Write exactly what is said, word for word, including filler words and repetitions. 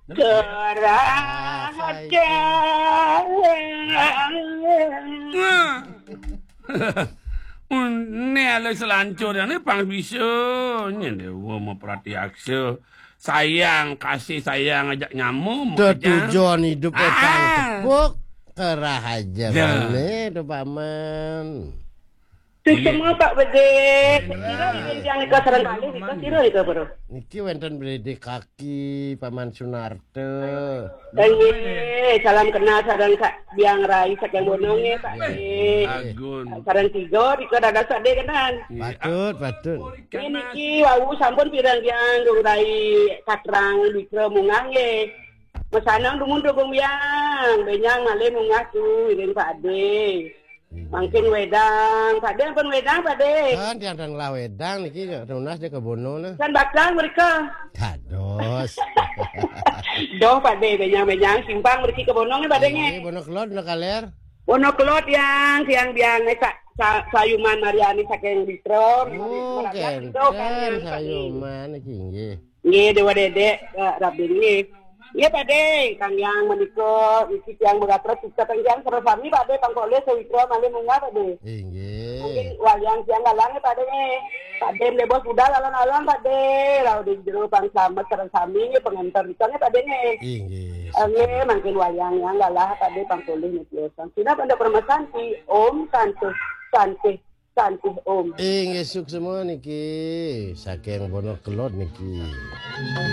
Kerahajeng. Nah. Né alé selancur né pang bisa nyén déwa mapratiaksa. Sayang, kasih sayang ajak nyamuk. Tujuan hidup ékang tepuk, kerahajeng né to paman. Suksma Pak Bédé. Kira yang nika sareng kalih nika sira nika, Bro. Niki wénten Bédé Kaki, Paman Sunarta. Nggih, salam kenal sareng Kak Biang Rai saking Bono nggih, Pak Dé. Agun. Sareng tiga nika dados Pak Dé kenal. Patut, patut. Nggih niki wau sampun pirang Biang Gung Rai Katrang Wikra munggah nggih. Mesanang dumun Gung Biang, bénjang malih munggah tu iring Pak Dé. Mangkin wédang, Pak Dé ampun wédang, Pak Dé. Kan tiang tan ngelah wédang niki nunas dia ke Bono nah. Kan bakal mereka. Dados. Doh, Pak Dé, bénjang-bénjang simpang mereka ke Bono nggih, Pak Dé nggih. Bono Kelod, Bono Kaler. Bono Kelod yang tiang Biang eh, sa, sa, Sayuman Mariani saking Wikra. Oh, Mereka kénten doh kan yang Pak Dé. Sayuman iki nggih. Nggih, Déwa Dédék, eh, Rabin nggih. Nggih, Pak Dé, Kang Yang menika niki tiyang beratra kita Kang Yang sareng sami Pak Dé pangkolih sawitra malih munggah Pak Dé. Inggih. Mungkin wayang tiyang galang nggih Pak Dé nggih. Pak Dé mlebos budal alon-alon Pak Dé. Rauh di jero pang slamet sareng sami nggih pengenter kita nggih Pak Dé nggih. Inggih. Eh, nggih, mangkin wayang yang galah Pak Dé pangkolih niki. Sina pada permesan di Om Santuh Santuh Santuh Om. Inggih suksma niki saking Bono Kelod niki.